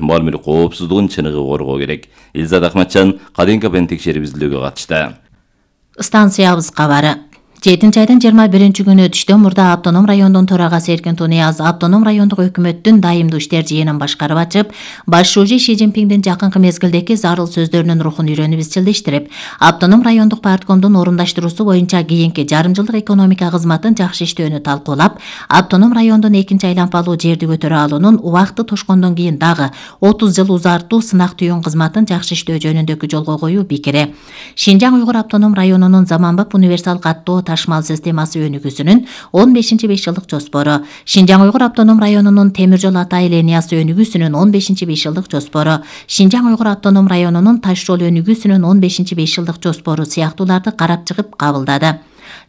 мал мүлк коопсуздугун чыныгы коргоо керек. Илзат Ахматжан Каденка бен текшерип изилдөөгө катышты. Станциябыз кабары. 7 айдын 21 күнү түштөн мурда автоном райондун төрагасы Эркин Тунияз автоном райондук өкмөттүн дайымдуу иштер жыйынын башкарып ачып, баш шүүжү Ши Цзиньпиндин жакынкы мезгилдеги зарыл сөздөрүнүн рухун үйрөнүп изчилдештирип, автоном райондук парткомдун орундаштыруусу боюнча кийинки жарым жылдык экономика кызматын жакшы иштөөнү талкуулап, автоном райондун 2 айланпалуу жерди көтөрө алуунун убакыты тошкондон кийин дагы 30 жыл узартуу сынак түйүн кызматын жакшы иштөө жөнүндөгү жолго коюу пикири. Шинжаң Уйгур автоном районунун заманбап универсал каттоо ташмал системасы өнүгүүсүнүн 15-5 жылдык жоспору, Шинжаң Уйгур автоном районунун темир жол Атай линиясы өнүгүүсүнүн 15-5 жылдык жоспору, Шинжаң Уйгур автоном районунун таш жол өнүгүүсүнүн 15-5 жылдык жоспору сыяктууларды карап чыгып кабылдады.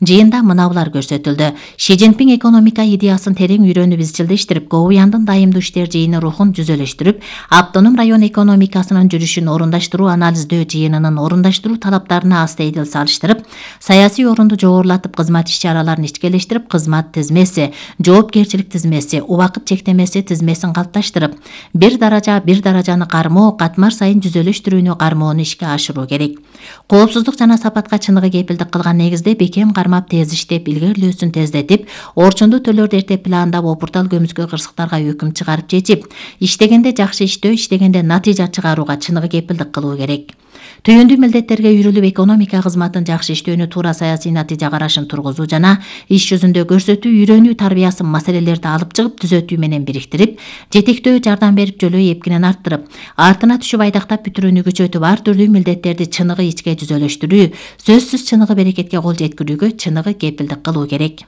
Жыйында мынабулар көрсөтүлдү. Ши Цзиньпин экономика идеясын терең үйрөнүп изчилдештирип, Говуяндын дайымдуу иштер жыйыны рухун жүзөлөштүрүп, автоном район экономикасынын жүрүшүн орундаштыруу анализдөө жыйынынын орундаштыруу талаптарына астейдил салыштырып, саясий орунду жогорулатып, кызмат иш-чараларын ичкелештирип, кызмат тизмеси, жоопкерчилик тизмеси, убакыт чектемеси тизмесин калыпташтырып, бир даражаны кармоо, катмар сайын жүзөлөштүрүүнү кармоону ишке ашыруу керек. Коопсуздук жана сапатка чыныгы кепилдик кылган негизде бекем кармап тез иштеп, илгерилөөсүн тездетип, орчундуу төлөрдү эрте пландап, опуртал көмүскө кырсыктарга өкүм чыгарып чечип, иштегенде жакшы иштөө, иштегенде натыйжа чыгарууга чыныгы кепилдик кылуу керек. Түйүндүү милдеттерге үйрүлүп, экономика кызматын жакшы иштөөнү туура саясий натыйжа карашын тургузуу жана иш жүзүндө көрсөтүү, үйрөнүү тарбиясы маселелерди алып чыгып, түзөтүү менен бириктирип, жетектөө жардам берип, жөлөө эпкинен арттырып, артына түшүп айдактап бүтүрүүнү күчөтүп, ар түрдүү милдеттерди чыныгы ичке жүзөлөштүрүү, сөзсүз чыныгы берекетке кол жеткирүүгө чыныгы кепилдик кылуу керек.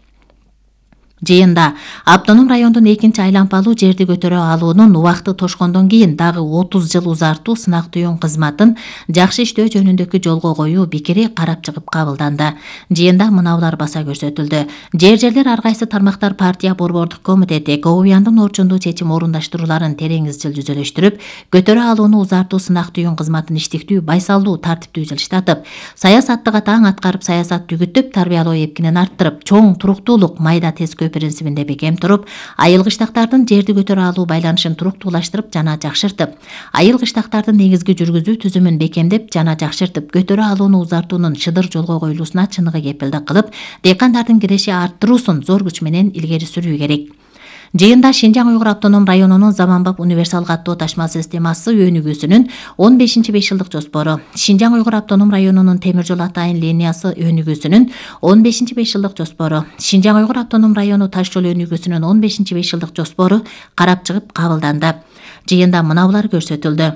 Жыйында автоном райондун 2 айланпалуу жерди көтөрө алуунун убакыты тошкондон кийин дагы 30 жыл узартуу сынак түйүн кызматын жакшы иштөө жөнүндөгү жолго коюу пикири карап чыгып кабылданды. Жыйында мынабулар баса көрсөтүлдү. Жерлер ар кайсы тармактар партия борбордук комитети Говуяндын орчундуу чечим орундаштырууларын терең изчил жүзөлөштүрүп, көтөрө алууну узартуу сынак түйүн кызматын иштиктүү, байсалдуу, тартиптүү жылыштатып, саясаттык атаң аткарып, саясат түгүтүп, тарбиялоо эпкинен арттырып, чоң туруктуулук, майда тез принцибинде бекем туруп, айыл кыштактардын жерди көтөрө алуу байланышын туруктуулаштырып жана жакшыртып, айыл кыштактардын негизги жүргүзүү түзүмүн бекемдеп жана жакшыртып, көтөрө алууну узартуунун шыдыр жолго коюлуусуна чыныгы кепилдик кылып, дыйкандардын киреши арттыруусун зор күч менен илгери сүрүү керек. Жыйында Шинжаң Уйгур автоном районунун заманбап универсал каттоо ташмал системасы өнүгүүсүнүн 15-5 жылдык жоспору, Шинжаң Уйгур автоном районунун темир жол Атайын линиясы өнүгүүсүнүн 15-5 жылдык жоспору, Шинжаң Уйгур автоном району таш жол өнүгүүсүнүн 15-5 жылдык жоспору карап чыгып кабылданды. Жыйында мынабулар көрсөтүлдү.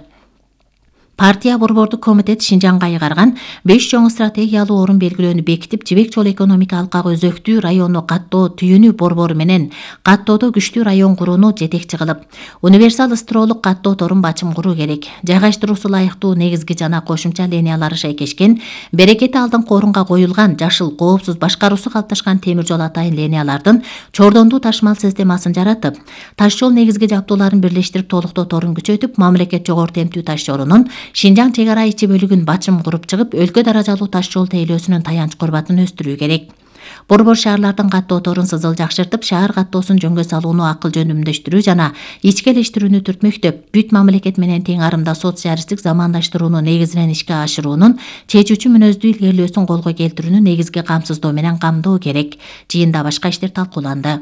Партия борбордук комитет Шинжаңга айгарган 5 чоң стратегиялуу орун белгилөөнү бекитип, Жибек жол экономика алкагы өзөктүү району каттоо түйүнү борбору менен каттоодо күчтүү район курууну жетекчи кылып, универсал ыстыроолук каттоо торун бачым куруу керек. Жайгаштыруусу ылайыктуу негизги жана кошумча линиялары шайкешкен, берекети алдыңкы орунга коюлган, жашыл, коопсуз башкаруусу калыпташкан темир жол Атайын линиялардын чордондуу ташмал системасын жаратып, таш жол негизги жабдууларын бирлештирип, толуктоо торун күчөтүп, мамлекет жогору темптүү таш жолунун Шинжаң чек ара ичи бөлүгүн бачым куруп чыгып, өлкө даражалуу таш жол тейлөөсүнүн таянч курбатын өстүрүү керек. Борбор шаарлардын каттоо торун сызыл жакшыртып, шаар каттоосун жөнгө салууну акыл жөнүмдөштүрүү жана ичкелештирүүнү түртмөктөп, бүт мамлекет менен тең арымда социалисттик замандаштырууну негизинен ишке ашыруунун чечүүчү мүнөздүү илгерилөөсүн колго келтирүүнү негизги камсыздоо менен камдоо керек. Жыйында башка иштер талкууланды.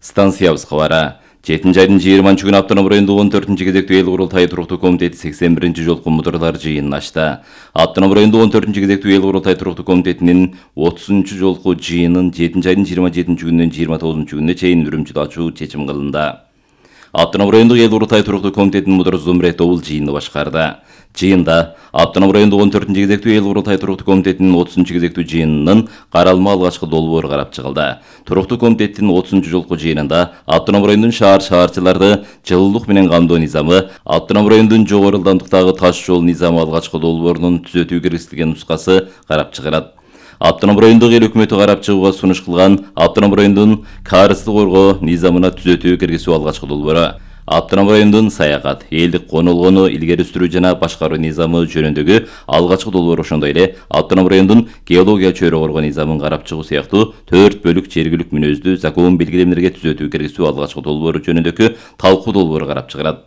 Станциябыз кабары. 7 айдын 20 күнү автоном райондук 14 кезектүү эл курултайы туруктуу комитети 81 жолку мударалар жыйынын ачты. Автоном райондук 14 кезектүү эл курултайы туруктуу комитетинин 30 жолку жыйынын 7 айдын 27 күнүнөн 29 күнүнө чейин Үрүмчүдө ачуу чечим кылынды. Автоном райондук эл курултайы туруктуу комитетинин мударасы Зумрет Тобул жыйынды башкарды. Жыйында автоном райондук 14 кезектүү эл курултайы туруктуу комитетинин 30 кезектүү жыйынынын каралма алгачкы долбоору карап чыгылды. Туруктуу комитеттин 30 жолку жыйынында автоном райондун шаарчыларды жылуулук менен камдоо низамы, автоном райондун жогору ылдамдыктагы таш жол низамы алгачкы долбоорунун түзөтүү киргизилген нускасы карап чыгылат. Автоном райондук эл өкмөтү карап чыгууга сунуш кылган автоном райондун каарызды коргоо низамына түзөтүү киргизүү алгачкы долбоору. Автоном райондун саякат, элдик конолгону илгери сүрүү жана башкаруу низамы жөнүндөгү алгачкы долбоору, ошондой эле автоном райондун геология чөйрө коргоо низамын карап чыгуу сыяктуу 4 бөлүк жергиликтүү мүнөздүү закон белгилемелерге түзөтүү киргизүү алгачкы долбоору жөнүндөгү талкуу долбоору карап чыгарат.